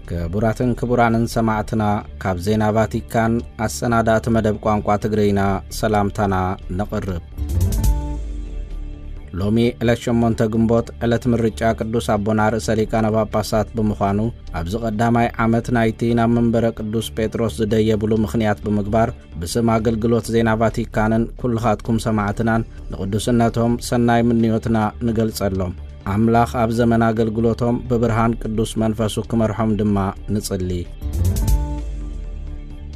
ክቡራትን ክቡራንን ሰማዕትና፣ ካብ ዜና ቫቲካን ኣሰናዳእቲ መደብ ቋንቋ ትግርኛ ሰላምታና ነቕርብ። ሎሚ ዕለት ሸሞንተ ግንቦት ዕለት ምርጫ ቅዱስ ኣቦና ርእሰ ሊቃነ ጳጳሳት ብምዃኑ፣ ኣብዚ ቀዳማይ ዓመት ናይቲ ናብ መንበረ ቅዱስ ጴጥሮስ ዝደየብሉ ምኽንያት ብምግባር፣ ብስም ኣገልግሎት ዜና ቫቲካንን ኩልኻትኩም ሰማዕትናን ንቅዱስነቶም ሰናይ ምንዮትና ንገልጸሎም። ኣምላኽ ኣብ ዘመን ኣገልግሎቶም ብብርሃን ቅዱስ መንፈሱ ክመርሖም ድማ ንጽሊ።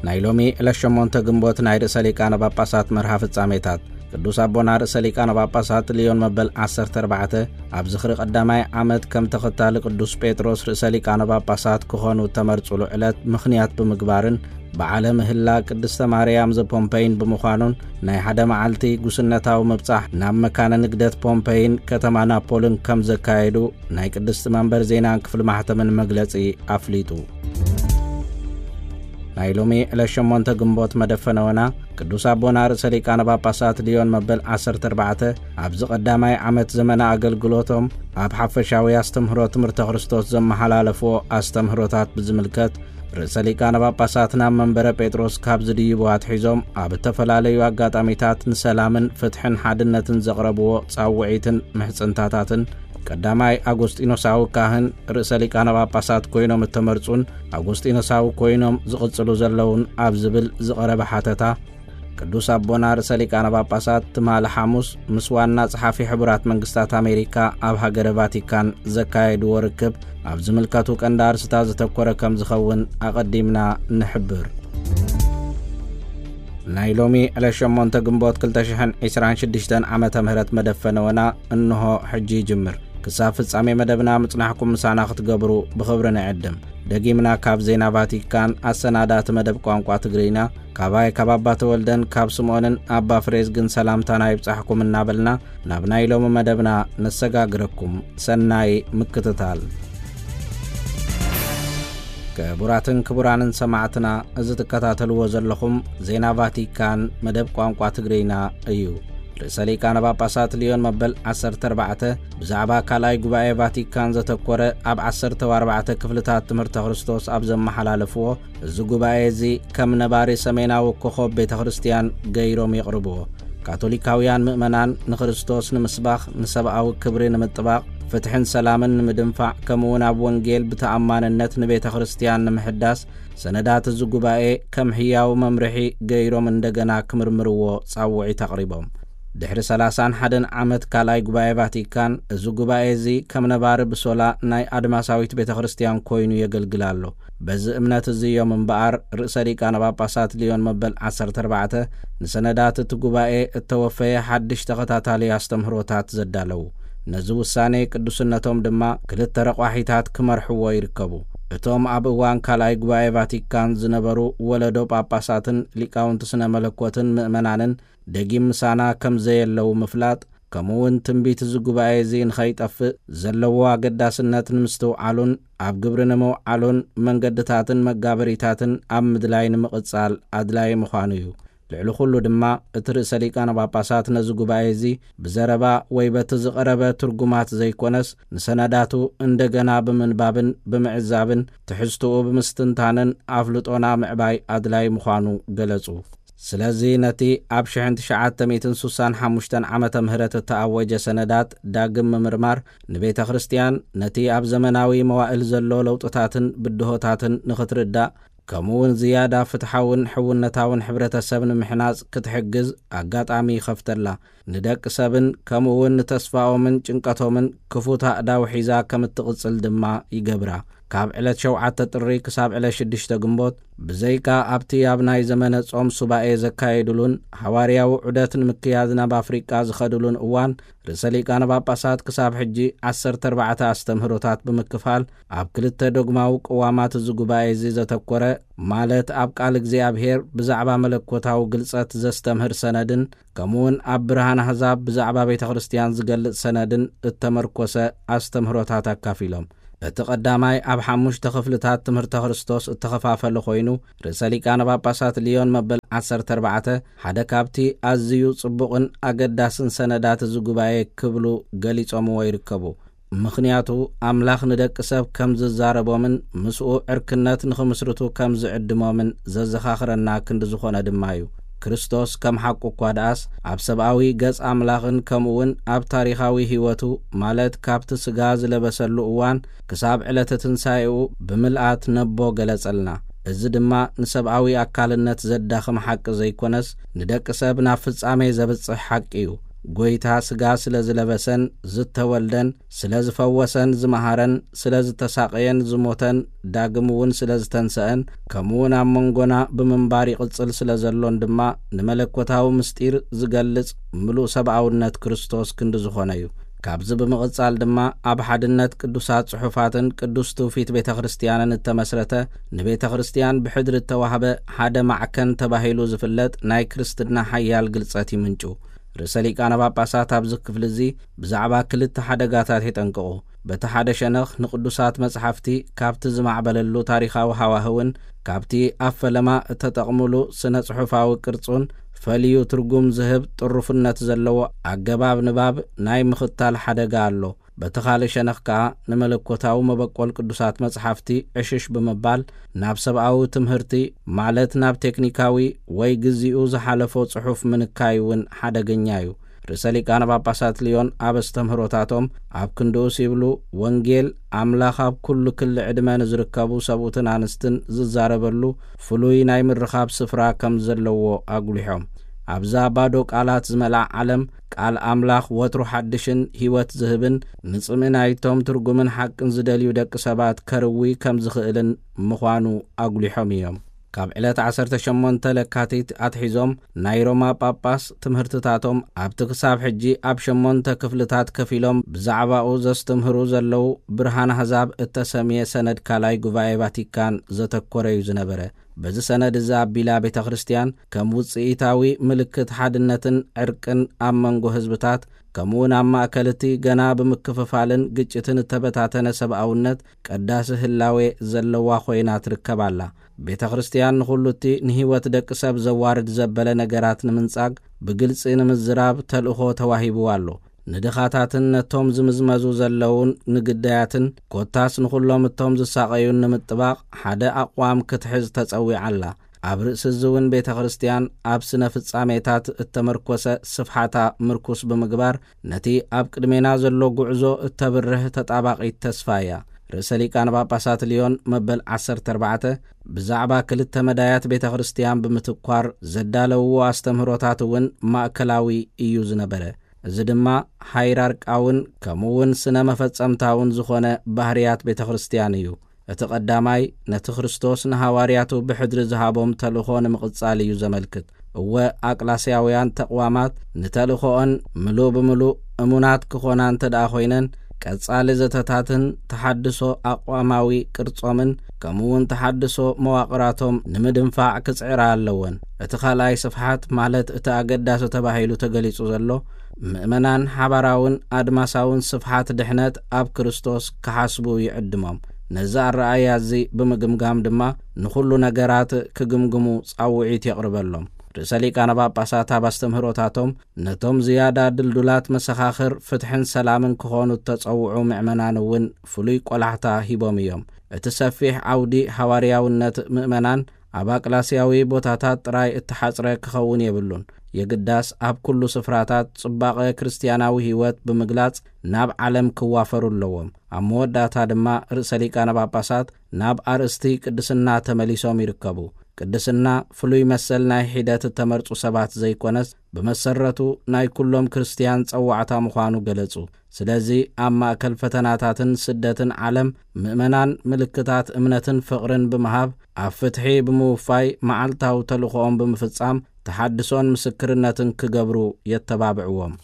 ናይ ሎሚ ዕለት ሸሞንተ ግንቦት ናይ ርእሰ ሊቃነ ጳጳሳት መርሃ ፍጻሜታት። ቅዱስ ኣቦና ርእሰ ሊቃነ ጳጳሳት ሊዮን መበል ዓሰርተ ኣርባዕተ ኣብ ዝኽሪ ቀዳማይ ዓመት ከም ተኸታሊ ቅዱስ ጴጥሮስ ርእሰ ሊቃነ ጳጳሳት ክኾኑ እተመርጹሉ ዕለት ምኽንያት ብምግባርን፣ በዓለ ምህላ ቅድስተ ማርያም ዘፖምፔይን ብምዃኑን፣ ናይ ሓደ መዓልቲ ጉስነታዊ ምብጻሕ ናብ መካነ ንግደት ፖምፔይን ከተማ ናፖልን ከም ዘካየዱ ናይ ቅድስቲ መንበር ዜናን ክፍሊ ማሕተምን መግለጺ ኣፍሊጡ። ናይ ሎሚ ዕለት ሸሞንተ ግንቦት መደፈነወና ቅዱስ ኣቦና ርእሰ ሊቃነ ጳጳሳት ሊዮን መበል ዓሰርተ ኣርባዕተ ኣብዚ ቀዳማይ ዓመት ዘመነ ኣገልግሎቶም ኣብ ሓፈሻዊ ኣስተምህሮ ትምህርተ ክርስቶስ ዘመሓላለፍዎ ኣስተምህሮታት ብዝምልከት፣ ርእሰ ሊቃነ ጳጳሳት ናብ መንበረ ጴጥሮስ ካብ ዝድይቡ ኣትሒዞም ኣብ እተፈላለዩ ኣጋጣሚታት ንሰላምን ፍትሕን ሓድነትን ዘቕረብዎ ጻውዒትን ምሕጽንታታትን፣ ቀዳማይ ኣጎስጢኖሳዊ ካህን ርእሰ ሊቃነ ጳጳሳት ኮይኖም እተመርጹን ኣጎስጢኖሳዊ ኮይኖም ዝቕጽሉ ዘለውን ኣብ ዝብል ዝቐረበ ሓተታ፣ ቅዱስ ኣቦና ርእሰ ሊቃነ ጳጳሳት ትማሊ ሓሙስ ምስ ዋና ጸሓፊ ሕቡራት መንግስታት ኣሜሪካ ኣብ ሃገረ ቫቲካን ዘካየድዎ ርክብ፣ ኣብ ዝምልከቱ ቀንዲ ኣርስታት ዘተኮረ ከም ዝኸውን ኣቐዲምና ንሕብር። ናይ ሎሚ ዕለት ሸሞንተ ግንቦት ክልተ ሽሕን ዕስራን ሽዱሽተን ዓመተ ምህረት መደፈነወና እንሆ ሕጂ ይጅምር። ክሳብ ፍጻሜ መደብና ምጽናሕኩም ምሳና ክትገብሩ ብኽብሪ ንዕድም። ደጊምና ካብ ዜና ቫቲካን ኣሰናዳእቲ መደብ ቋንቋ ትግርኛ፣ ካባይ ካብ ኣባ ተወልደን ካብ ስምኦንን ኣባ ፍሬዝግን ሰላምታና ይብጻሕኩም እናበልና፣ ናብ ናይ ሎሚ መደብና ነሰጋግረኩም። ሰናይ ምክትታል። ክቡራትን ክቡራንን ሰማዕትና፣ እዚ ትከታተልዎ ዘለኹም ዜና ቫቲካን መደብ ቋንቋ ትግርኛ እዩ። ርእሰ ሊቃነ ጳጳሳት ሊዮን መበል ዓሰርተ ኣርባዕተ ብዛዕባ ካልኣይ ጉባኤ ቫቲካን ዘተኮረ ኣብ ዓሰርተ ኣርባዕተ ክፍልታት ትምህርተ ክርስቶስ ኣብ ዘመሓላለፍዎ፣ እዚ ጉባኤ እዚ ከም ነባሪ ሰሜናዊ ኮኾብ ቤተ ክርስቲያን ገይሮም የቕርብዎ። ካቶሊካውያን ምእመናን ንክርስቶስ ንምስባኽ፣ ንሰብኣዊ ክብሪ ንምጥባቕ፣ ፍትሕን ሰላምን ንምድንፋዕ፣ ከምኡውን ኣብ ወንጌል ብተኣማንነት ንቤተ ክርስቲያን ንምሕዳስ፣ ሰነዳት እዚ ጉባኤ ከም ህያው መምርሒ ገይሮም እንደገና ክምርምርዎ ጻውዒት ኣቕሪቦም። ድሕሪ ሰላሳን ሓደን ዓመት ካልኣይ ጉባኤ ቫቲካን፣ እዚ ጉባኤ እዚ ከም ነባሪ ብሶላ ናይ ኣድማሳዊት ቤተ ክርስቲያን ኮይኑ የገልግል ኣሎ። በዚ እምነት እዚ እዮም እምበኣር ርእሰ ሊቃነ ጳጳሳት ሊዮን መበል ዓሰርተ ኣርባዕተ ንሰነዳት እቲ ጉባኤ እተወፈየ ሓድሽ ተኸታታሊ ኣስተምህሮታት ዘዳለዉ። ነዚ ውሳኔ ቅዱስነቶም ድማ ክልተ ረቋሒታት ክመርሕዎ ይርከቡ። እቶም ኣብ እዋን ካልኣይ ጉባኤ ቫቲካን ዝነበሩ ወለዶ ጳጳሳትን ሊቃውንቲ ስነ መለኮትን ምእመናንን ደጊም ምሳና ከም ዘየለዉ ምፍላጥ፣ ከምኡ እውን ትንቢት እዚ ጉባኤ እዚ ንኸይጠፍእ ዘለዎ ኣገዳስነት ንምስትውዓሉን ኣብ ግብሪ ንምውዓሉን መንገድታትን መጋበሪታትን ኣብ ምድላይ ንምቕጻል ኣድላዪ ምዃኑ እዩ። ልዕሊ ኩሉ ድማ፣ እቲ ርእሰ ሊቃነ ጳጳሳት ነዚ ጉባኤ እዚ ብዘረባ ወይ በቲ ዝቐረበ ትርጉማት ዘይኮነስ፣ ንሰነዳቱ እንደገና ብምንባብን ብምዕዛብን ትሕዝትኡ ብምስትንታንን ኣፍልጦና ምዕባይ ኣድላዪ ምዃኑ ገለጹ። ስለዚ ነቲ ኣብ ሽሕን ትሽዓተ ሚእትን ሱሳን ሓሙሽተን ዓመተ ምህረት እተኣወጀ ሰነዳት ዳግም ምምርማር ንቤተ ክርስቲያን ነቲ ኣብ ዘመናዊ መዋእል ዘሎ ለውጥታትን ብድሆታትን ንኽትርዳእ፣ ከምኡ እውን ዝያዳ ፍትሓውን ሕውነታውን ሕብረተሰብ ንምሕናጽ ክትሕግዝ ኣጋጣሚ ይኸፍተላ። ንደቂ ሰብን ከምኡ እውን ንተስፋኦምን ጭንቀቶምን ክፉት ኣእዳው ሒዛ ከም እትቕጽል ድማ ይገብራ። ካብ ዕለት ሸውዓተ ጥሪ ክሳብ ዕለት ሽዱሽተ ግንቦት፣ ብዘይካ ኣብቲ ኣብ ናይ ዘመነ ጾም ሱባኤ ዘካየዱሉን ሃዋርያዊ ዑደት ንምክያድ ናብ ኣፍሪቃ ዝኸዱሉን እዋን፣ ርእሰ ሊቃነ ጳጳሳት ክሳብ ሕጂ ዓሰርተ ኣርባዕተ ኣስተምህሮታት ብምክፋል፣ ኣብ ክልተ ዶግማዊ ቅዋማት እዚ ጉባኤ እዚ ዘተኮረ፣ ማለት ኣብ ቃል እግዚኣብሔር ብዛዕባ መለኮታዊ ግልጸት ዘስተምህር ሰነድን፣ ከምኡውን ኣብ ብርሃን ኣህዛብ ብዛዕባ ቤተ ክርስቲያን ዝገልጽ ሰነድን እተመርኮሰ ኣስተምህሮታት ኣካፊሎም። እቲ ቀዳማይ ኣብ ሓሙሽተ ክፍልታት ትምህርተ ክርስቶስ እተኸፋፈለ ኮይኑ፣ ርእሰ ሊቃነ ጳጳሳት ሊዮን መበል ዓሰርተ ኣርባዕተ ሓደ ካብቲ ኣዝዩ ጽቡቕን ኣገዳስን ሰነዳት እዚ ጉባኤ ክብሉ ገሊጾምዎ ይርከቡ። ምኽንያቱ ኣምላኽ ንደቂ ሰብ ከም ዝዛረቦምን ምስኡ ዕርክነት ንኽምስርቱ ከም ዝዕድሞምን ዘዘኻኽረና ክንዲ ዝኾነ ድማ እዩ። ክርስቶስ ከም ሓቁ እኳ ደኣስ ኣብ ሰብኣዊ ገጽ ኣምላኽን ከምኡ እውን ኣብ ታሪኻዊ ህይወቱ፣ ማለት ካብቲ ስጋ ዝለበሰሉ እዋን ክሳብ ዕለተ ትንሳኤኡ ብምልኣት ነቦ ገለጸልና። እዚ ድማ ንሰብኣዊ ኣካልነት ዘዳኽም ሓቂ ዘይኮነስ ንደቂ ሰብ ናብ ፍጻሜ ዘብጽሕ ሓቂ እዩ። ጎይታ ስጋ ስለ ዝለበሰን ዝተወልደን ስለ ዝፈወሰን ዝመሃረን ስለ ዝተሳቐየን ዝሞተን ዳግም እውን ስለ ዝተንሰአን ከምኡ እውን ኣብ መንጎና ብምንባር ይቕጽል ስለ ዘሎን ድማ ንመለኮታዊ ምስጢር ዝገልጽ ምሉእ ሰብኣውነት ክርስቶስ ክንዲ ዝኾነ እዩ። ካብዚ ብምቕጻል ድማ ኣብ ሓድነት ቅዱሳት ጽሑፋትን ቅዱስ ትውፊት ቤተ ክርስቲያንን እተመስረተ ንቤተ ክርስቲያን ብሕድሪ እተዋህበ ሓደ ማዕከን ተባሂሉ ዝፍለጥ ናይ ክርስትና ሓያል ግልጸት ይምንጩ። ርእሰ ሊቃነ ጳጳሳት ኣብዚ ክፍሊ እዚ ብዛዕባ ክልተ ሓደጋታት የጠንቅቑ። በቲ ሓደ ሸነኽ ንቅዱሳት መጽሓፍቲ ካብቲ ዝማዕበለሉ ታሪኻዊ ሃዋህውን ካብቲ ኣብ ፈለማ እተጠቕሙሉ ስነ ጽሑፋዊ ቅርጹን ፈልዩ ትርጉም ዝህብ ጥሩፍነት ዘለዎ ኣገባብ ንባብ ናይ ምኽታል ሓደጋ ኣሎ። በቲ ካልእ ሸነኽ ከኣ ንመለኮታዊ መበቆል ቅዱሳት መጽሓፍቲ ዕሽሽ ብምባል ናብ ሰብኣዊ ትምህርቲ፣ ማለት ናብ ቴክኒካዊ ወይ ግዚኡ ዝሓለፎ ጽሑፍ ምንካይ እውን ሓደገኛ እዩ። ርእሰ ሊቃነ ጳጳሳት ልዮን ኣብ ኣስተምህሮታቶም ኣብ ክንድኡስ ይብሉ፣ ወንጌል ኣምላኽ ኣብ ኩሉ ክሊ ዕድመ ንዝርከቡ ሰብኡትን ኣንስትን ዝዛረበሉ ፍሉይ ናይ ምርኻብ ስፍራ ከም ዘለዎ ኣጉሊሖም። ኣብዛ ባዶ ቃላት ዝመልኣ ዓለም ቃል ኣምላኽ ወትሩ ሓድሽን ህይወት ዝህብን ንጽምኢ ናይቶም ትርጉምን ሓቅን ዝደልዩ ደቂ ሰባት ከርዊ ከም ዝኽእልን ምዃኑ ኣጉሊሖም እዮም። ካብ ዕለት ዓሰርተ ሸሞንተ ለካቲት ኣትሒዞም ናይ ሮማ ጳጳስ ትምህርትታቶም ኣብቲ ክሳብ ሕጂ ኣብ ሸሞንተ ክፍልታት ከፊሎም ብዛዕባኡ ዘስተምህሩ ዘለዉ ብርሃን ኣህዛብ እተሰምየ ሰነድ ካልኣይ ጉባኤ ቫቲካን ዘተኮረ እዩ ዝነበረ። በዚ ሰነድ እዚ ኣቢላ ቤተ ክርስቲያን ከም ውጽኢታዊ ምልክት ሓድነትን ዕርቅን ኣብ መንጎ ህዝብታት ከምኡውን ኣብ ማእከል እቲ ገና ብምክፍፋልን ግጭትን እተበታተነ ሰብኣውነት ቀዳሲ ህላዌ ዘለዋ ኮይና ትርከብ ኣላ። ቤተ ክርስቲያን ንኹሉ እቲ ንህይወት ደቂ ሰብ ዘዋርድ ዘበለ ነገራት ንምንጻግ ብግልጺ ንምዝራብ ተልእኾ ተዋሂብዋ ኣሎ። ንድኻታትን ነቶም ዝምዝመዙ ዘለዉን ንግዳያትን ኮታስ ንኹሎም እቶም ዝሳቐዩን ንምጥባቕ ሓደ ኣቕዋም ክትሕዝ ተጸዊዓ ኣላ። ኣብ ርእሲ እዚ እውን ቤተ ክርስቲያን ኣብ ስነ ፍጻሜታት እተመርኮሰ ስፍሓታ ምርኩስ ብምግባር ነቲ ኣብ ቅድሜና ዘሎ ጉዕዞ እተብርህ ተጣባቒት ተስፋ እያ። ርእሰ ሊቃነ ጳጳሳት ልዮን መበል ዓሰርተ ኣርባዕተ ብዛዕባ ክልተ መዳያት ቤተ ክርስቲያን ብምትኳር ዘዳለውዎ ኣስተምህሮታት እውን ማእከላዊ እዩ ዝነበረ። እዚ ድማ ሃይራርቃውን ከምኡ እውን ስነ መፈጸምታውን ዝኾነ ባህርያት ቤተ ክርስቲያን እዩ። እቲ ቀዳማይ ነቲ ክርስቶስ ንሃዋርያቱ ብሕድሪ ዝሃቦም ተልእኾ ንምቕጻል እዩ ዘመልክት። እወ ኣቅላስያውያን ተቕዋማት ንተልእኾኦን ምሉእ ብምሉእ እሙናት ክኾና እንተ ደኣ ኮይነን ቀጻሊ ዘተታትን ተሓድሶ ኣቕዋማዊ ቅርጾምን ከምኡ እውን ተሓድሶ መዋቕራቶም ንምድንፋዕ ክጽዕራ ኣለወን። እቲ ካልኣይ ስፍሓት ማለት እቲ ኣገዳሲ ተባሂሉ ተገሊጹ ዘሎ ምእመናን ሓባራውን ኣድማሳውን ስፍሓት ድሕነት ኣብ ክርስቶስ ክሓስቡ ይዕድሞም። ነዚ ኣረኣእያ እዚ ብምግምጋም ድማ ንኹሉ ነገራት ክግምግሙ ጻውዒት የቕርበሎም። ርእሰ ሊቃነ ጳጳሳት ኣብ ኣስተምህሮታቶም ነቶም ዝያዳ ድልዱላት መሰኻኽር ፍትሕን ሰላምን ክኾኑ እተጸውዑ ምእመናን እውን ፍሉይ ቆላሕታ ሂቦም እዮም። እቲ ሰፊሕ ዓውዲ ሃዋርያውነት ምእመናን ኣብ ኣቅላስያዊ ቦታታት ጥራይ እተሓጽረ ክኸውን የብሉን። የግዳስ ኣብ ኩሉ ስፍራታት ጽባቐ ክርስትያናዊ ህይወት ብምግላጽ ናብ ዓለም ክዋፈሩ ኣለዎም። ኣብ መወዳእታ ድማ ርእሰ ሊቃነ ጳጳሳት ናብ ኣርእስቲ ቅድስና ተመሊሶም ይርከቡ። ቅድስና ፍሉይ መሰል ናይ ሒደት እተመርጹ ሰባት ዘይኮነስ ብመሰረቱ ናይ ኩሎም ክርስትያን ጸዋዕታ ምዃኑ ገለጹ። ስለዚ ኣብ ማእከል ፈተናታትን ስደትን ዓለም ምእመናን ምልክታት እምነትን ፍቕርን ብምሃብ ኣብ ፍትሒ ብምውፋይ መዓልታዊ ተልእኾኦም ብምፍጻም ተሓድሶን ምስክርነትን ክገብሩ የተባብዕዎም።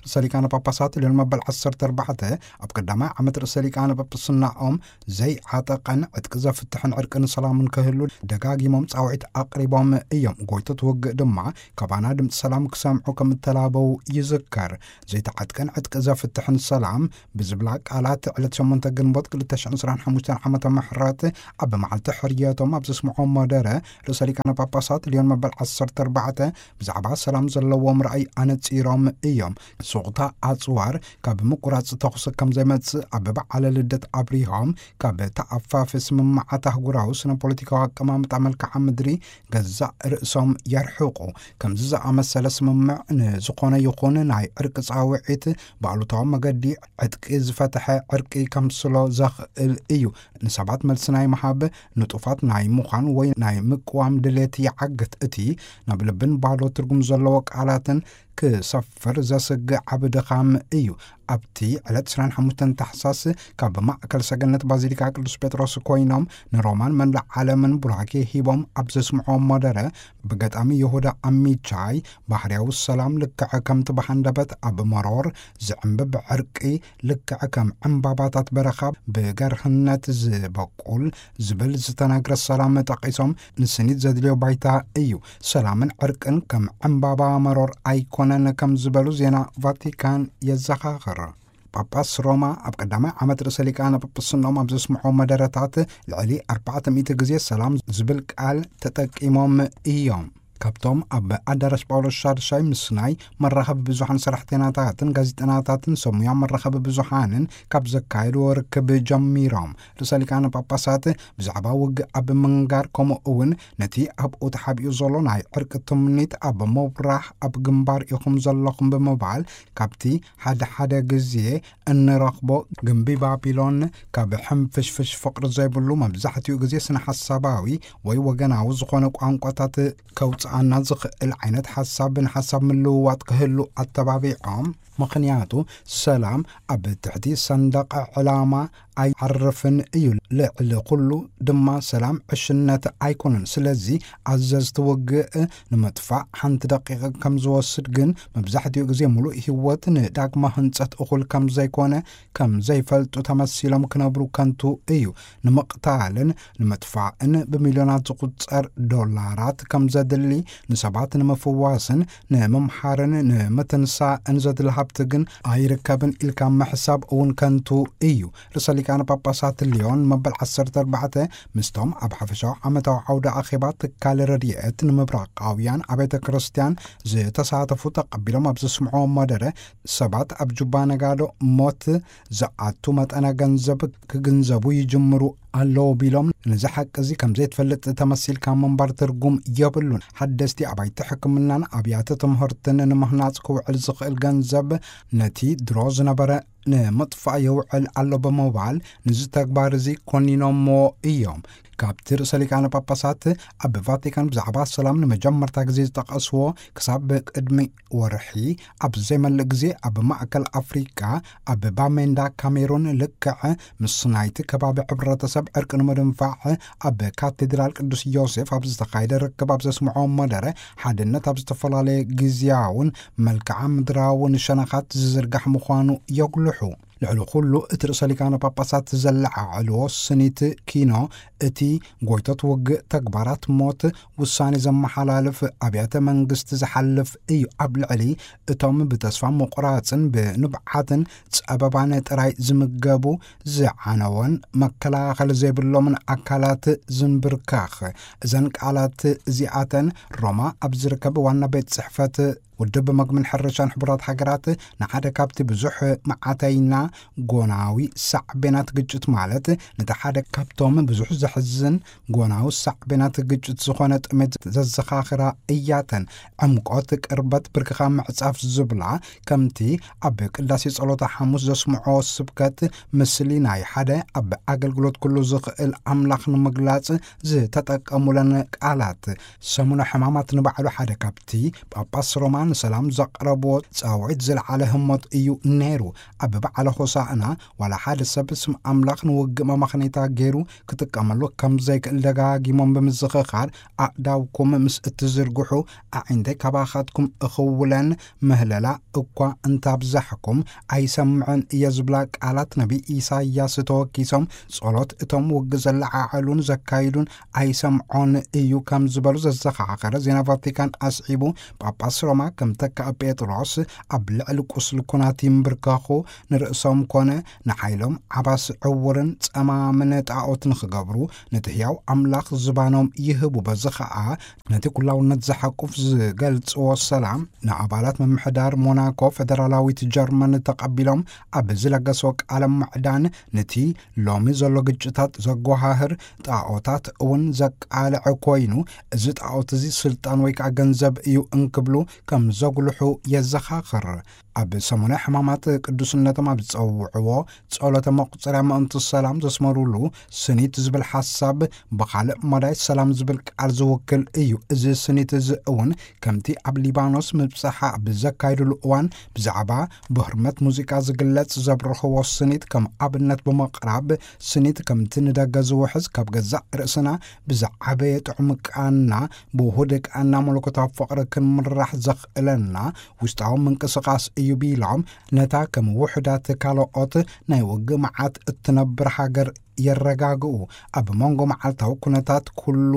ርእሰ ሊቃነ ጳጳሳት ልዮን መበል ዓሰርተ ኣርባዕተ ኣብ ቀዳማይ ዓመት ርእሰ ሊቃነ ጳጳስናኦም ዘይዓጠቐን ዕጥቂ ዘፍትሕን ዕርቅን ሰላምን ክህሉ ደጋጊሞም ጻውዒት ኣቕሪቦም እዮም። ጎይቶት ውግእ ድማ ካባና ድምፂ ሰላም ክሰምዑ ከም እተላበው ይዝከር። ዘይተዓጥቀን ዕጥቂ ዘፍትሕን ሰላም ብዝብላ ቃላት ዕለት ሸሞንተ ግንቦት ክልተ ሽሕን ዕስራን ሓሙሽተን ዓመተ ምሕረት ኣብ መዓልቲ ሕርየቶም ኣብ ዘስምዖ መደረ ርእሰ ሊቃነ ጳጳሳት ልዮን መበል ዓሰርተ ኣርባዕተ ብዛዕባ ሰላም ዘለዎም ራእይ ኣነጺሮም እዮም። ንሱ ሱቕታ ኣጽዋር ካብ ምቁራጽ ተኹሲ ከም ዘይመጽእ ኣብ በዓለ ልደት ኣብሪሆም፣ ካብ ተኣፋፊ ስምምዓት ኣህጉራዊ ስነ ፖለቲካዊ ኣቀማምጣ መልክዓ ምድሪ ገዛእ ርእሶም የርሕቑ። ከምዚ ዝኣመሰለ ስምምዕ ንዝኾነ ይኹን ናይ ዕርቂ ጻውዒት ብኣሉታዊ መገዲ ዕጥቂ ዝፈትሐ ዕርቂ ከምስሎ ዘኽእል እዩ። ንሰባት መልሲ ናይ ምሃብ፣ ንጡፋት ናይ ምዃን ወይ ናይ ምቅዋም ድሌት ይዓግት። እቲ ናብ ልብን ባዶ ትርጉም ዘለዎ ቃላትን ክሰፍር ዘስግእ ዓቢ ድኻም እዩ። ኣብቲ ዕለት ዕስራን ሓሙሽተን ታሕሳስ ካብ ማእከል ሰገነት ባዚሊካ ቅዱስ ጴጥሮስ ኮይኖም ንሮማን መላእ ዓለምን ቡራኬ ሂቦም ኣብ ዘስምዕዎ መደረ፣ ብገጣሚ ይሁዳ ኣሚቻይ ባህርያዊ ሰላም ልክዕ ከምቲ ብሃንደበት ኣብ መሮር ዝዕምብብ ዕርቂ፣ ልክዕ ከም ዕምባባታት በረኻ ብገርህነት ዝበቁል ዝብል ዝተነግረ ሰላም ጠቒሶም፣ ንስኒት ዘድልዮ ባይታ እዩ። ሰላምን ዕርቅን ከም ዕምባባ መሮር ኣይኮነን ከም ዝበሉ ዜና ቫቲካን የዘኻኽር። ጳጳስ ሮማ ኣብ ቀዳማይ ዓመት ርእሰ ሊቃነ ጳጳስኖም ኣብ ዘስምዖ መደረታት ልዕሊ ኣርባዕተ ሚእቲ ግዜ ሰላም ዝብል ቃል ተጠቂሞም እዮም። ካብቶም ኣብ ኣዳራሽ ጳውሎስ ሻድሻይ ምስ ናይ መራኸቢ ብዙሓን ሰራሕተኛታትን ጋዜጠናታትን ሰብ ሙያ መራኸቢ ብዙሓንን ካብ ዘካየድዎ ርክብ ጀሚሮም፣ ርእሰ ሊቃነ ጳጳሳት ብዛዕባ ውግእ ኣብ ምንጋር፣ ከምኡ እውን ነቲ ኣብኡ ተሓቢኡ ዘሎ ናይ ዕርቂ ትምኒት ኣብ ምብራህ ኣብ ግንባር ኢኹም ዘለኹም ብምባል፣ ካብቲ ሓደ ሓደ ግዜ እንረኽቦ ግምቢ ባቢሎን ካብ ሕንፍሽፍሽ ፍቕሪ ዘይብሉ፣ መብዛሕትኡ ግዜ ስነ ሓሳባዊ ወይ ወገናዊ ዝኾነ ቋንቋታት ከውፅኣና ዝኽእል ዓይነት ሓሳብ ንሓሳብ ምልውዋጥ ክህሉ ኣተባቢዖም። ምኽንያቱ ሰላም ኣብ ትሕቲ ሰንደቕ ዕላማ ኣይዓርፍን እዩ። ልዕሊ ኩሉ ድማ ሰላም ዕሽነት ኣይኮነን። ስለዚ ኣዘዝቲ ውግእ ንምጥፋእ ሓንቲ ደቂቕ ከም ዝወስድ ግን መብዛሕትኡ ግዜ ምሉእ ህይወት ንዳግማ ህንጸት እኹል ከም ዘይኮነ ከም ዘይፈልጡ ተመሲሎም ክነብሩ ከንቱ እዩ። ንምቕታልን ንምጥፋእን ብሚልዮናት ዝቑጸር ዶላራት ከም ዘድሊ፣ ንሰባት ንምፍዋስን ንምምሃርን ንምትንሳእን ዘድሊ ሃብቲ ግን ኣይርከብን ኢልካ ምሕሳብ እውን ከንቱ እዩ። ርእሰ ሊቃነ ጳጳሳት ሊዮን መበል ዓሰርተ ኣርባዕተ ምስቶም ኣብ ሓፈሻዊ ዓመታዊ ዓውደ ኣኼባ ትካል ረድኤት ንምብራቓውያን ኣብያተ ክርስቲያን ዝተሳተፉ ተቐቢሎም ኣብ ዘስምዕዎ መደረ፣ ሰባት ኣብ ጁባ ነጋዶ ሞት ዝኣቱ መጠነ ገንዘብ ክግንዘቡ ይጅምሩ ኣለዉ ቢሎም፣ ነዚ ሓቂ እዚ ከም ዘይትፈልጥ ተመሲልካ ምንባር ትርጉም የብሉን። ሓደስቲ ኣባይቲ ሕክምናን ኣብያተ ትምህርትን ንምህናጽ ክውዕል ዝኽእል ገንዘብ ነቲ ድሮ ዝነበረ ንምጥፋእ ይውዕል ኣሎ ብምባል፣ ነዚ ተግባር እዚ ኮኒኖምዎ እዮም። ካብቲ ርእሰ ሊቃነ ጳጳሳት ኣብ ቫቲካን ብዛዕባ ሰላም ንመጀመርታ ግዜ ዝጠቐስዎ፣ ክሳብ ቅድሚ ወርሒ ኣብ ዘይመልእ ግዜ ኣብ ማእከል ኣፍሪቃ ኣብ ባሜንዳ ካሜሩን ልክዕ ምስ ናይቲ ከባቢ ሕብረተሰብ ዕርቂ ንምድንፋዕ ኣብ ካቴድራል ቅዱስ ዮሴፍ ኣብ ዝተኻየደ ርክብ ኣብ ዘስምዖ መደረ፣ ሓድነት ኣብ ዝተፈላለየ ግዜያውን መልክዓ ምድራውን ሸነኻት ዝዝርጋሕ ምዃኑ የጉልሑ። ልዕሊ ኩሉ እቲ ርእሰ ሊቃነ ጳጳሳት ዘለዓዕልዎ ስኒት ኪኖ፣ እቲ ጎይቶት ውግእ፣ ተግባራት ሞት፣ ውሳኔ ዘመሓላልፍ፣ ኣብያተ መንግስቲ ዝሓልፍ እዩ። ኣብ ልዕሊ እቶም ብተስፋ ምቑራጽን ብንብዓትን ጸበባን ጥራይ ዝምገቡ፣ ዝዓነወን መከላኸሊ ዘይብሎምን ኣካላት ዝንብርካኽ። እዘን ቃላት እዚኣተን ሮማ ኣብ ዝርከብ ዋና ቤት ጽሕፈት ውድብ መግብን ሕርሻን ሕቡራት ሃገራት ንሓደ ካብቲ ብዙሕ መዓተይና ጎናዊ ሳዕቤናት ግጭት፣ ማለት ነቲ ሓደ ካብቶም ብዙሕ ዘሕዝን ጎናዊ ሳዕቤናት ግጭት ዝኾነ ጥሜት ዘዘኻኽራ እያተን። ዕምቆት ቅርበት ብርክኻ ምዕጻፍ ዝብላ፣ ከምቲ ኣብ ቅዳሴ ጸሎተ ሓሙስ ዘስምዖ ስብከት፣ ምስሊ ናይ ሓደ ኣብ ኣገልግሎት ኩሉ ዝኽእል ኣምላኽ ንምግላጽ ዝተጠቀሙለን ቃላት። ሰሙነ ሕማማት ንባዕሉ ሓደ ካብቲ ጳጳስ ሮማ ንሰላም ዘቕረብዎ ጻውዒት ዝለዓለ ህሞት እዩ ነይሩ። ኣብ በዓለ ሆሳዕና ዋላ ሓደ ሰብ ስም ኣምላኽ ንውግእ መመኽነይታ ገይሩ ክጥቀመሉ ከም ዘይክእል ደጋጊሞም ብምዝኽኻር፣ ኣእዳውኩም ምስ እትዝርግሑ ኣዒንተይ ካባኻትኩም እኽውለን፣ ምህለላ እኳ እንታብዛሕኩም ኣይሰምዕን እየ ዝብላ ቃላት ነቢይ ኢሳይያስ ተወኪሶም፣ ጸሎት እቶም ውግእ ዘለዓዕሉን ዘካይዱን ኣይሰምዖን እዩ ከም ዝበሉ ዘዘኻኸረ ዜና ቫቲካን ኣስዒቡ፣ ጳጳስ ሮማ ከም ተካእ ጴጥሮስ ኣብ ልዕሊ ቁስሊ ኩናት ይንብርከኹ፣ ንርእሶም ኮነ ንሓይሎም ዓባስ ዕውርን ጸማምን ጣዖት ንኽገብሩ፣ ነቲ ህያው ኣምላኽ ዝባኖም ይህቡ። በዚ ኸኣ ነቲ ኩላውነት ዝሓቁፍ ዝገልጽዎ ሰላም ንኣባላት ምምሕዳር ሞናኮ ፈደራላዊት ጀርመን ተቐቢሎም ኣብ ዝለገስዎ ቃለ ምዕዳን፣ ነቲ ሎሚ ዘሎ ግጭታት ዘጓሃህር ጣዖታት እውን ዘቃልዐ ኮይኑ፣ እዚ ጣዖት እዚ ስልጣን ወይ ከዓ ገንዘብ እዩ እንክብሉ ከም ዘጉልሑ የዘኻኽር። ኣብ ሰሙነ ሕማማት ቅዱስነቶም ኣብ ዝጸውዕዎ ጸሎተ መቁጸርያ ምእንቲ ሰላም ዘስመሩሉ ስኒት ዝብል ሓሳብ ብኻልእ መዳይ ሰላም ዝብል ቃል ዝውክል እዩ። እዚ ስኒት እዚ እውን ከምቲ ኣብ ሊባኖስ ምብጻሕ ኣብ ዘካይድሉ እዋን ብዛዕባ ብህርመት ሙዚቃ ዝግለጽ ዘብርኽዎ ስኒት ከም ኣብነት ብምቕራብ፣ ስኒት ከምቲ ንደገ ዝውሕዝ ካብ ገዛእ ርእስና ብዝዓበየ ጥዑም ቃና፣ ብውሁድ ቃና መለኮታዊ ፍቕሪ ክንምራሕ ዘኽእለና ውሽጣዊ ምንቅስቓስ እዩ ቢሎም፣ ነታ ከም ውሑዳት ካልኦት ናይ ውግእ መዓት እትነብር ሃገር የረጋግኡ። ኣብ መንጎ መዓልታዊ ኩነታት ኩሉ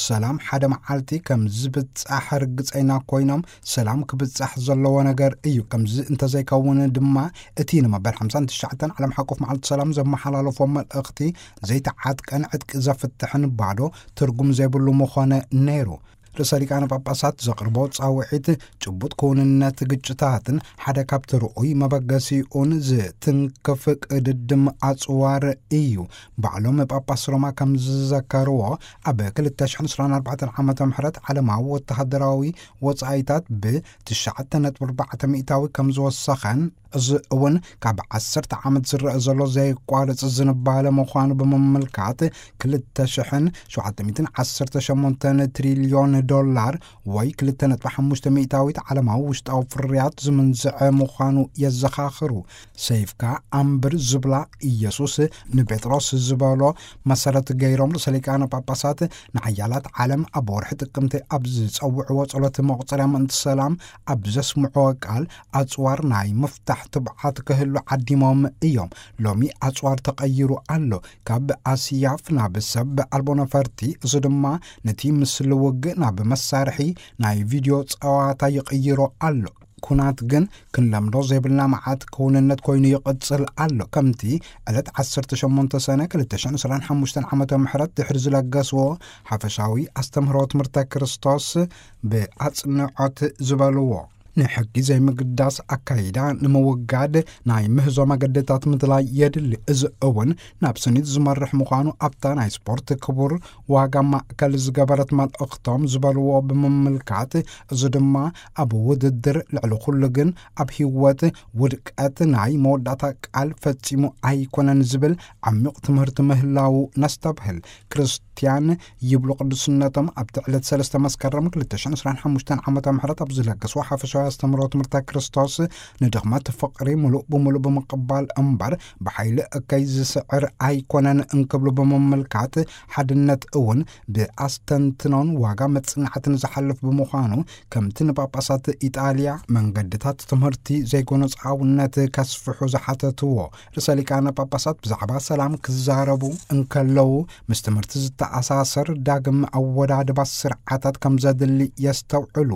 ሰላም ሓደ መዓልቲ ከም ዝብጻሕ ርግጸይና ኮይኖም፣ ሰላም ክብጻሕ ዘለዎ ነገር እዩ። ከምዚ እንተዘይከውን ድማ እቲ ንመበል ሓምሳን ትሽዓተን ዓለም ሓቆፍ መዓልቲ ሰላም ዘመሓላለፎ መልእኽቲ ዘይተዓጥቀን ዕጥቂ ዘፍትሕን ባዶ ትርጉም ዘይብሉ ምኾነ ነይሩ። ርእሰ ሊቃነ ጳጳሳት ዘቕርቦ ጻውዒት ጭቡጥ ክውንነት ግጭታትን ሓደ ካብቲ ርኡይ መበገሲኡን ዝትንክፍ ቅድድም ኣጽዋር እዩ። ባዕሎም ጳጳስ ሮማ ከም ዝዘከርዎ፣ ኣብ ክልተ ሽሕን ዕስራን ኣርባዕተን ዓመተ ምህረት ዓለማዊ ወተሃደራዊ ወጻኢታት ብ ትሽዓተ ነጥቢ ኣርባዕተ ሚእታዊ ከም ዝወሰኸን፣ እዚ እውን ካብ ዓሰርተ ዓመት ዝረአ ዘሎ ዘየቋርጽ ዝንባለ ምዃኑ ብምምልካት፣ ክልተ ሽሕን ሸውዓተ ሚእትን ዓሰርተ ሸሞንተን ትሪልዮን ዶላር ወይ ክልተ ነጥቢ ሓሙሽተ ሚእታዊት ዓለማዊ ውሽጣዊ ፍርያት ዝምንዝዐ ምዃኑ የዘኻኽሩ። ሰይፍካ ኣንብር ዝብላ ኢየሱስ ንጴጥሮስ ዝበሎ መሰረት ገይሮም፣ ርእሰ ሊቃነ ጳጳሳት ንሓያላት ዓለም ኣብ ወርሒ ጥቅምቲ ኣብ ዝጸውዕዎ ጸሎት መቑጸርያ ምእንቲ ሰላም ኣብ ዘስምዕዎ ቃል፣ ኣጽዋር ናይ ምፍታሕ ትብዓት ክህሉ ዓዲሞም እዮም። ሎሚ ኣጽዋር ተቐይሩ ኣሎ፣ ካብ ኣስያፍ ናብ ሰብ ኣልቦ ነፈርቲ፣ እዚ ድማ ነቲ ምስሊ ውግእ ናብ መሳርሒ ናይ ቪድዮ ጸዋታ ይቕይሮ ኣሎ። ኩናት ግን ክንለምዶ ዘይብልና መዓት ክውንነት ኮይኑ ይቕጽል ኣሎ። ከምቲ ዕለት ዓሰርተ ሸሞንተ ሰነ ክልተ ሽሕን ዕስራን ሓሙሽተን ዓመተ ምህረት ድሕሪ ዝለገስዎ ሓፈሻዊ ኣስተምህሮ ትምህርተ ክርስቶስ ብኣጽንዖት ዝበልዎ፣ ንሕጊ ዘይምግዳስ ኣካይዳ ንምውጋድ ናይ ምህዞ መገድታት ምድላይ የድሊ። እዚ እውን ናብ ስኒት ዝመርሕ ምዃኑ ኣብታ ናይ ስፖርት ክቡር ዋጋ ማእከል ዝገበረት መልእኽቶም ዝበልዎ ብምምልካት፣ እዚ ድማ ኣብ ውድድር ልዕሊ ኩሉ ግን ኣብ ህይወት ውድቀት ናይ መወዳእታ ቃል ፈጺሙ ኣይኮነን ዝብል ዓሚቕ ትምህርቲ ምህላዉ ነስተብህል። ክርስትያን ይብሉ ቅዱስነቶም ኣብቲ ዕለት ሰለስተ መስከረም ክልተ ሽሕን ዕስራን ሓሙሽተን ዓመተ ምህረት ኣብ ዝለገስዎ ሓፈሻዊ ኣስተምህሮ ትምህርተ ክርስቶስ፣ ንድኽመት ፍቕሪ ምሉእ ብምሉእ ብምቕባል እምበር ብሓይሊ እከይ ዝስዕር ኣይኮነን እንክብሉ ብምምልካት፣ ሓድነት እውን ብኣስተንትኖን ዋጋ መጽናዕትን ዝሓልፍ ብምዃኑ፣ ከምቲ ንጳጳሳት ኢጣልያ መንገድታት ትምህርቲ ዘይጎነጻውነት ከስፍሑ ዝሓተትዎ፣ ርእሰ ሊቃነ ጳጳሳት ብዛዕባ ሰላም ክዛረቡ እንከለዉ፣ ምስ ትምህርቲ ዝተኣሳሰር ዳግም ኣወዳድባ ስርዓታት ከም ዘድሊ የስተውዕሉ።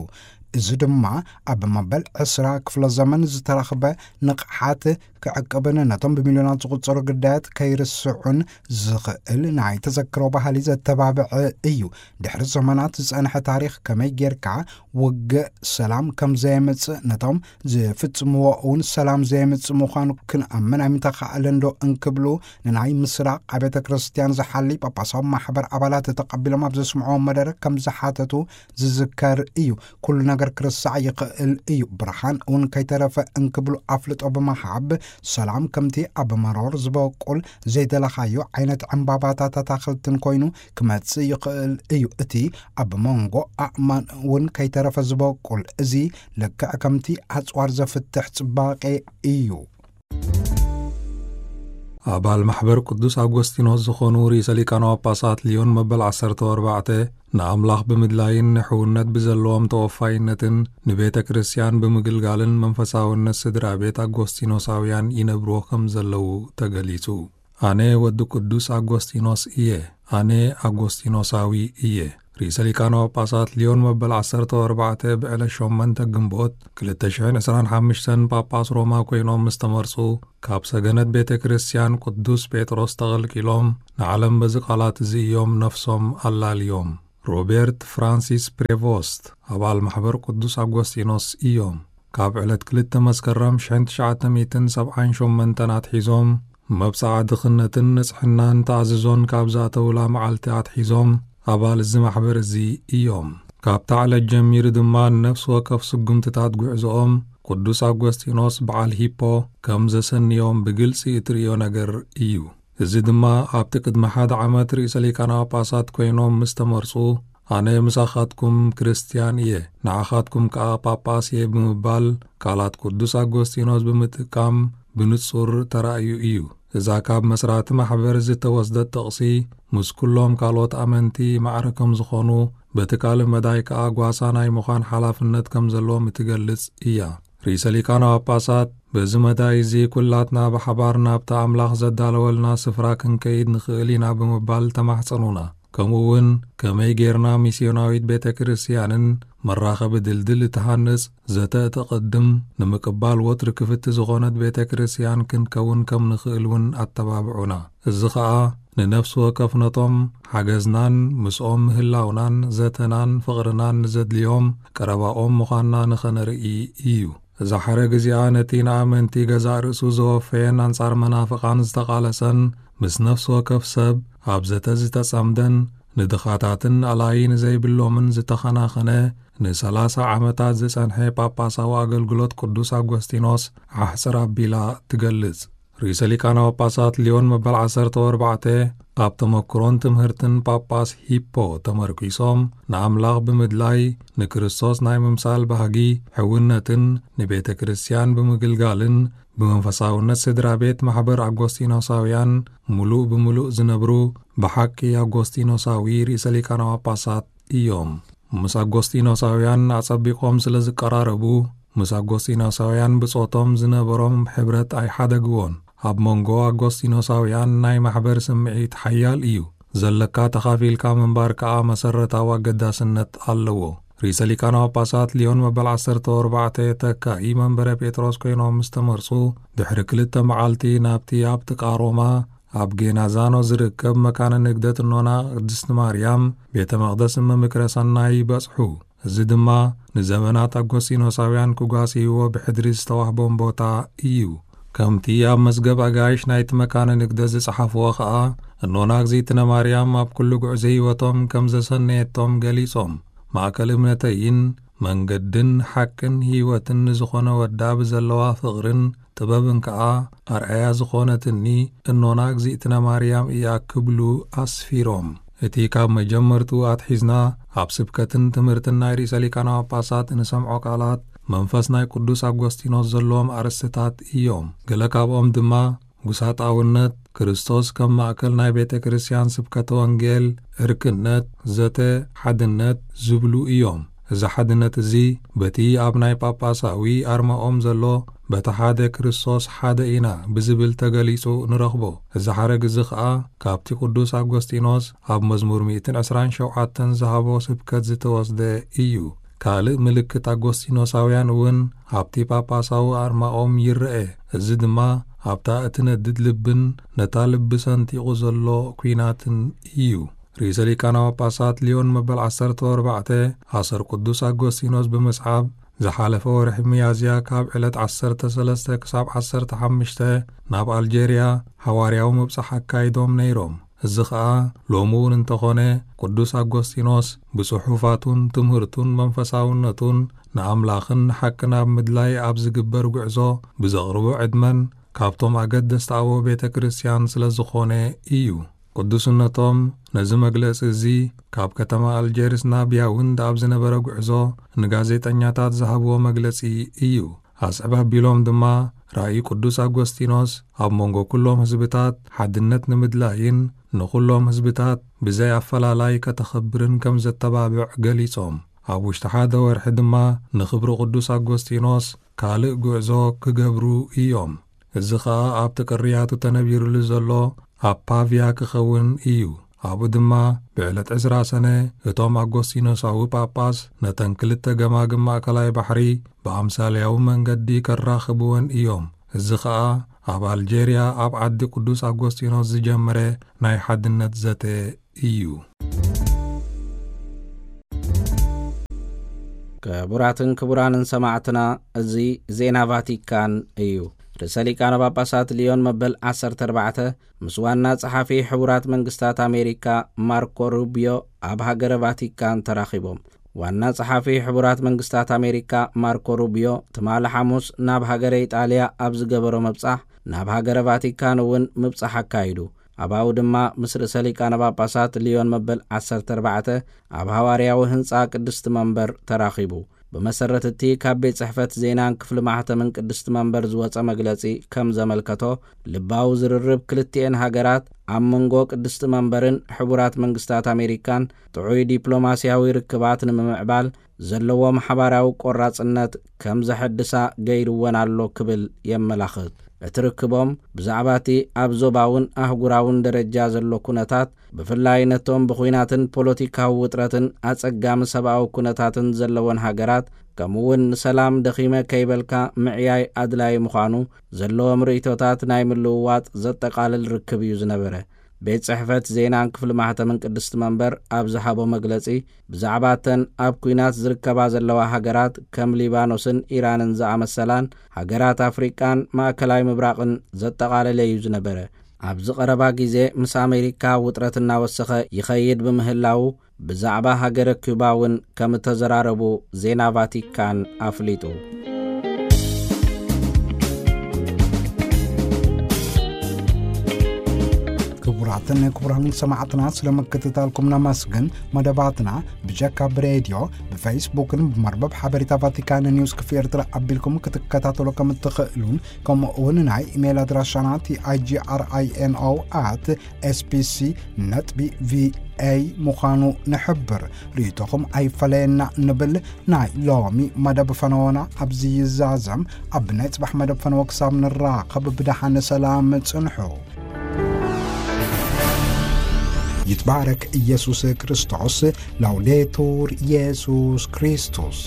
እዚ ድማ ኣብ መበል ዕስራ ክፍለ ዘመን ዝተረኽበ ንቕሓት ክዕቅብን ነቶም ብሚልዮናት ዝቑጸሩ ግዳያት ከይርስዑን ዝኽእል ናይ ተዘክሮ ባህሊ ዘተባብዐ እዩ። ድሕሪ ዘመናት ዝጸንሐ ታሪኽ ከመይ ጌርካ ውግእ ሰላም ከም ዘየምጽእ፣ ነቶም ዝፍጽምዎ እውን ሰላም ዘየምጽእ ምዃኑ ክንኣምን ኣይምተኻእለን ዶ እንክብሉ፣ ንናይ ምስራቕ ኣብያተ ክርስቲያን ዝሓሊ ጳጳሳዊ ማሕበር ኣባላት ተቐቢሎም ኣብ ዘስምዕዎ መደረ ከም ዝሓተቱ ዝዝከር እዩ። ኩሉ ነገር ክርስዕ ይኽእል እዩ፣ ብርሃን እውን ከይተረፈ እንክብሉ ኣፍልጦ ብምሃብ፣ ሰላም ከምቲ ኣብ መሮር ዝበቁል ዘይደለኻዮ ዓይነት ዕምባባታት ኣታኽልትን ኮይኑ ክመጽእ ይኽእል እዩ። እቲ ኣብ መንጎ ኣእማን እውን ከይተረፈ ዝበቁል፣ እዚ ልክዕ ከምቲ ኣጽዋር ዘፍትሕ ጽባቄ እዩ። ኣባል ማሕበር ቅዱስ ኣጎስቲኖስ ዝኾኑ ርእሰ ሊቃነ ጳጳሳት ሊዮን መበል ዓሰርተ ኣርባዕተ፣ ንኣምላኽ ብምድላይን ንሕውነት ብዘለዎም ተወፋይነትን ንቤተ ክርስቲያን ብምግልጋልን መንፈሳውነት ስድራ ቤት ኣጎስቲኖሳውያን ይነብርዎ ከም ዘለዉ ተገሊጹ። ኣነ ወዲ ቅዱስ ኣጎስቲኖስ እየ። ኣነ ኣጎስቲኖሳዊ እየ። ርእሰ ሊቃነ ጳጳሳት ሊዮን መበል ዓሰርተ ኣርባዕተ ብዕለት ሸሞንተ ግንቦት ክልተ ሽሕን ዕስራን ሓሙሽተን ጳጳስ ሮማ ኮይኖም ምስ ተመርጹ፣ ካብ ሰገነት ቤተ ክርስቲያን ቅዱስ ጴጥሮስ ተቐልቂሎም፣ ንዓለም በዚ ቃላት እዚ እዮም ነፍሶም ኣላልዮም። ሮቤርት ፍራንሲስ ፕሬቮስት ኣባል ማሕበር ቅዱስ ኣጎስጢኖስ እዮም። ካብ ዕለት ክልተ መስከረም ሽሕን ትሽዓተ ሚእትን ሰብዓን ሸሞንተን ኣትሒዞም፣ መብጽዓ ድኽነትን ንጽሕናን ተኣዝዞን ካብ ዝኣተውላ መዓልቲ ኣትሒዞም ኣባል እዚ ማሕበር እዚ እዮም። ካብታ ዕለት ጀሚሩ ድማ ንነፍሲ ወከፍ ስጉምትታት ጉዕዞኦም ቅዱስ ኣጎስጢኖስ በዓል ሂፖ ከም ዘሰንዮም ብግልጺ እትርእዮ ነገር እዩ። እዚ ድማ ኣብቲ ቅድሚ ሓደ ዓመት ርእሰ ሊቃነ ጳጳሳት ኮይኖም ምስ ተመርጹ፣ "ኣነ ምሳኻትኩም ክርስትያን እየ፣ ንዓኻትኩም ከኣ ጳጳስ እየ" ብምባል ቃላት ቅዱስ ኣጎስጢኖስ ብምጥቃም ብንጹር ተራእዩ እዩ። እዛ ካብ መስራቲ ማሕበር ዝተወስደት ጥቕሲ፣ ምስ ኩሎም ካልኦት ኣመንቲ ማዕረ ከም ዝኾኑ፣ በቲ ካልእ መዳይ ከኣ ጓሳ ናይ ምዃን ሓላፍነት ከም ዘለዎም እትገልጽ እያ። ርእሰ ሊቃነ ጳጳሳት፣ "በዚ መዳይ እዚ ኩላትና ብሓባር ናብቲ ኣምላኽ ዘዳለወልና ስፍራ ክንከይድ ንኽእል ኢና" ብምባል ተማሕጸኑና። ከምኡ እውን ከመይ ጌርና ሚስዮናዊት ቤተ ክርስቲያንን መራኸቢ ድልድል እትሃንጽ፣ ዘተ እተቐድም፣ ንምቅባል ወትሪ ክፍቲ ዝኾነት ቤተ ክርስቲያን ክንከውን ከም ንኽእል እውን ኣተባብዑና። እዚ ኸኣ ንነፍሲ ወከፍ ነቶም ሓገዝናን ምስኦም ምህላውናን ዘተናን ፍቕርናን ንዘድልዮም ቀረባኦም ምዃንና ንኸነርኢ እዩ። እዛ ሓረግ እዚኣ ነቲ ንኣመንቲ ገዛእ ርእሱ ዘወፈየን ኣንጻር መናፍቓን ዝተቓለሰን፣ ምስ ነፍሲ ወከፍ ሰብ ኣብ ዘተ ዝተጸምደን፣ ንድኻታትን ኣላይ ንዘይብሎምን ዝተኸናኸነ፣ ንሰላሳ ዓመታት ዝጸንሐ ጳጳሳዊ ኣገልግሎት ቅዱስ ኣጎስጢኖስ ዓሕጽር ኣቢላ ትገልጽ። ርእሰ ሊቃነ ጳጳሳት ሊዮን መበል ዓሰርተ ኣርባዕተ ኣብ ተመክሮን ትምህርትን ጳጳስ ሂፖ ተመርኪሶም፣ ንኣምላኽ ብምድላይ፣ ንክርስቶስ ናይ ምምሳል ባህጊ፣ ሕውነትን ንቤተ ክርስቲያን ብምግልጋልን፣ ብመንፈሳውነት ስድራ ቤት ማሕበር ኣጎስጢኖሳውያን ምሉእ ብምሉእ ዝነብሩ ብሓቂ ኣጎስጢኖሳዊ ርእሰ ሊቃነ ጳጳሳት እዮም። ምስ ኣጎስጢኖሳውያን ኣጸቢቖም ስለ ዝቀራረቡ፣ ምስ ኣጎስጢኖሳውያን ብጾቶም ዝነበሮም ሕብረት ኣይሓደግዎን። ኣብ መንጎ ኣጎስጢኖሳውያን ናይ ማሕበር ስምዒት ሓያል እዩ። ዘለካ ተኻፊልካ ምንባር ከኣ መሰረታዊ ኣገዳስነት ኣለዎ። ርእሰ ሊቃነ ጳጳሳት ሊዮን መበል ዓሰርተ ኣርባዕተ ተካኢ መንበረ ጴጥሮስ ኮይኖም ምስ ተመርጹ፣ ድሕሪ ክልተ መዓልቲ ናብቲ ኣብ ጥቃ ሮማ ኣብ ጌናዛኖ ዝርከብ መካነ ንግደት እኖና ቅድስቲ ማርያም ቤተ መቕደስ እመ ምክረ ሰናይ በጽሑ። እዚ ድማ ንዘመናት ኣጎስጢኖሳውያን ክጓስይዎ ብሕድሪ ዝተዋህቦም ቦታ እዩ። ከምቲ ኣብ መዝገብ ኣጋይሽ ናይቲ መካነ ንግደት ዝጸሓፍዎ ኸኣ፣ እኖና እግዚኣብነ ማርያም ኣብ ኩሉ ጉዕዞ ህይወቶም ከም ዘሰነየቶም ገሊጾም፣ "ማእከል እምነተይን መንገድን ሓቅን ህይወትን ንዝኾነ ወዳ ብዘለዋ ፍቕርን ጥበብን ከኣ ኣርኣያ ዝኾነትኒ እኖና እግዚኣብነ ማርያም እያ" ክብሉ ኣስፊሮም። እቲ ካብ መጀመርትኡ ኣትሒዝና ኣብ ስብከትን ትምህርትን ናይ ርእሰ ሊቃነ ጳጳሳት እንሰምዖ ቃላት መንፈስ ናይ ቅዱስ ኣጎስጢኖስ ዘለዎም ኣርእስትታት እዮም። ገለ ካብኦም ድማ ጉሳጣውነት፣ ክርስቶስ ከም ማእከል ናይ ቤተ ክርስቲያን ስብከተ ወንጌል፣ ዕርክነት፣ ዘተ፣ ሓድነት ዝብሉ እዮም። እዚ ሓድነት እዚ በቲ ኣብ ናይ ጳጳሳዊ ኣርማኦም ዘሎ "በቲ ሓደ ክርስቶስ ሓደ ኢና" ብዝብል ተገሊጹ ንረኽቦ። እዚ ሓረግ እዚ ኸኣ ካብቲ ቅዱስ ኣጎስጢኖስ ኣብ መዝሙር ሚእትን ዕስራን ሸውዓተን ዝሃቦ ስብከት ዝተወስደ እዩ። ካልእ ምልክት ኣጎስጢኖሳውያን እውን ኣብቲ ጳጳሳዊ ኣርማኦም ይረአ። እዚ ድማ ኣብታ እትነድድ ልብን ነታ ልቢ ሰንጢቑ ዘሎ ኲናትን እዩ። ርእሰ ሊቃነ ጳጳሳት ሊዮን መበል ዓሰርተ ኣርባዕተ ኣሰር ቅዱስ ኣጎስጢኖስ ብምስዓብ፣ ዝሓለፈ ወርሒ ሚያዝያ ካብ ዕለት ዓሰርተ ሰለስተ ክሳብ ዓሰርተ ሓሙሽተ ናብ ኣልጀርያ ሓዋርያዊ ምብጻሕ ኣካይዶም ነይሮም። እዚ ኸኣ ሎሚ እውን እንተኾነ፣ ቅዱስ ኣጎስጢኖስ ብጽሑፋቱን ትምህርቱን መንፈሳውነቱን ንኣምላኽን ንሓቅን ኣብ ምድላይ ኣብ ዝግበር ጉዕዞ ብዘቕርቦ ዕድመን ካብቶም ኣገደስቲ ኣበው ቤተ ክርስቲያን ስለ ዝኾነ እዩ። ቅዱስነቶም ነዚ መግለጺ እዚ ካብ ከተማ ኣልጀርስ ናብ ያውንድ ኣብ ዝነበረ ጉዕዞ ንጋዜጠኛታት ዝሃብዎ መግለጺ እዩ። ኣስዕብ ኣቢሎም ድማ፣ ራእይ ቅዱስ ኣጎስጢኖስ ኣብ መንጎ ኩሎም ህዝብታት ሓድነት ንምድላይን ንኹሎም ህዝብታት ብዘይ ኣፈላላይ ከተኸብርን ከም ዘተባብዕ ገሊጾም፣ ኣብ ውሽጢ ሓደ ወርሒ ድማ ንኽብሪ ቅዱስ ኣጎስጢኖስ ካልእ ጉዕዞ ክገብሩ እዮም። እዚ ኸኣ ኣብቲ ቅርያቱ ተነቢሩሉ ዘሎ ኣብ ፓቪያ ክኸውን እዩ። ኣብኡ ድማ ብዕለት ዕስራ ሰነ እቶም ኣጎስቲኖሳዊ ጳጳስ ነተን ክልተ ገማግም ማእከላይ ባሕሪ ብኣምሳልያዊ መንገዲ ከራኽብወን እዮም። እዚ ኸኣ ኣብ ኣልጀርያ ኣብ ዓዲ ቅዱስ ኣጎስቲኖስ ዝጀመረ ናይ ሓድነት ዘተ እዩ። ክቡራትን ክቡራንን ሰማዕትና፣ እዚ ዜና ቫቲካን እዩ። ርእሰ ሊቃነ ጳጳሳት ሊዮን መበል ዓሰርተ ኣርባዕተ ምስ ዋና ጸሓፊ ሕቡራት መንግስታት ኣሜሪካ ማርኮ ሩቢዮ ኣብ ሃገረ ቫቲካን ተራኺቦም። ዋና ጸሓፊ ሕቡራት መንግስታት ኣሜሪካ ማርኮ ሩቢዮ ትማሊ ሓሙስ ናብ ሃገረ ኢጣልያ ኣብ ዝገበሮ ምብጻሕ፣ ናብ ሃገረ ቫቲካን እውን ምብጻሕ ኣካይዱ። ኣባኡ ድማ ምስ ርእሰ ሊቃነ ጳጳሳት ሊዮን መበል ዓሰርተ ኣርባዕተ ኣብ ሃዋርያዊ ህንጻ ቅድስቲ መንበር ተራኺቡ። ብመሰረት እቲ ካብ ቤት ጽሕፈት ዜናን ክፍሊ ማሕተምን ቅድስቲ መንበር ዝወጸ መግለጺ ከም ዘመልከቶ፣ ልባዊ ዝርርብ ክልቲኤን ሃገራት ኣብ መንጎ ቅድስቲ መንበርን ሕቡራት መንግስታት ኣሜሪካን ጥዑይ ዲፕሎማስያዊ ርክባት ንምምዕባል ዘለዎም ሓባራዊ ቆራጽነት ከም ዘሐድሳ ገይርወን ኣሎ ክብል የመላኽት። እቲ ርክቦም ብዛዕባ እቲ ኣብ ዞባውን ኣህጉራውን ደረጃ ዘሎ ኩነታት፣ ብፍላይ ነቶም ብኹናትን ፖለቲካዊ ውጥረትን ኣጸጋሚ ሰብኣዊ ኩነታትን ዘለወን ሃገራት፣ ከምኡውን ንሰላም ደኺመ ከይበልካ ምዕያይ ኣድላዪ ምዃኑ ዘለዎም ርእይቶታት ናይ ምልውዋጥ ዘጠቓልል ርክብ እዩ ዝነበረ። ቤት ጽሕፈት ዜናን ክፍሊ ማሕተምን ቅድስቲ መንበር ኣብ ዝሃቦ መግለጺ፣ ብዛዕባ እተን ኣብ ኲናት ዝርከባ ዘለዋ ሃገራት ከም ሊባኖስን ኢራንን ዝኣመሰላን ሃገራት ኣፍሪቃን ማእከላይ ምብራቕን ዘጠቓለለ እዩ ዝነበረ። ኣብዚ ቀረባ ግዜ ምስ ኣሜሪካ ውጥረት እናወሰኸ ይኸይድ ብምህላዉ፣ ብዛዕባ ሃገረ ኪዩባ እውን ከም እተዘራረቡ ዜና ቫቲካን ኣፍሊጡ። ክቡራትን ክቡራን ሰማዕትና፣ ስለ ምክትታልኩም ነመስግን። መደባትና ብጀካ ብሬድዮ፣ ብፌስቡክን ብመርበብ ሓበሬታ ቫቲካን ኒውስ ክፍሊ ኤርትራ ኣቢልኩም ክትከታተሉ ከም እትኽእሉን፣ ከምኡ እውን ናይ ኢሜይል ኣድራሻና ቲ ኣይ ጂ ኣር ኣይ ኤን ኦ ኣት ኤስ ቢ ሲ ነጥቢ ቪ ኤ ምዃኑ ንሕብር። ርእይቶኹም ኣይፈለየና ንብል። ናይ ሎሚ መደብ ፈነወና ኣብዚ ይዛዘም። ኣብ ናይ ጽባሕ መደብ ፈነወ ክሳብ ንራኸብ ብደሓን ሰላም ጽንሑ። ይትባረክ ኢየሱስ ክርስቶስ። ላውዴቱር ኢየሱስ ክርስቶስ።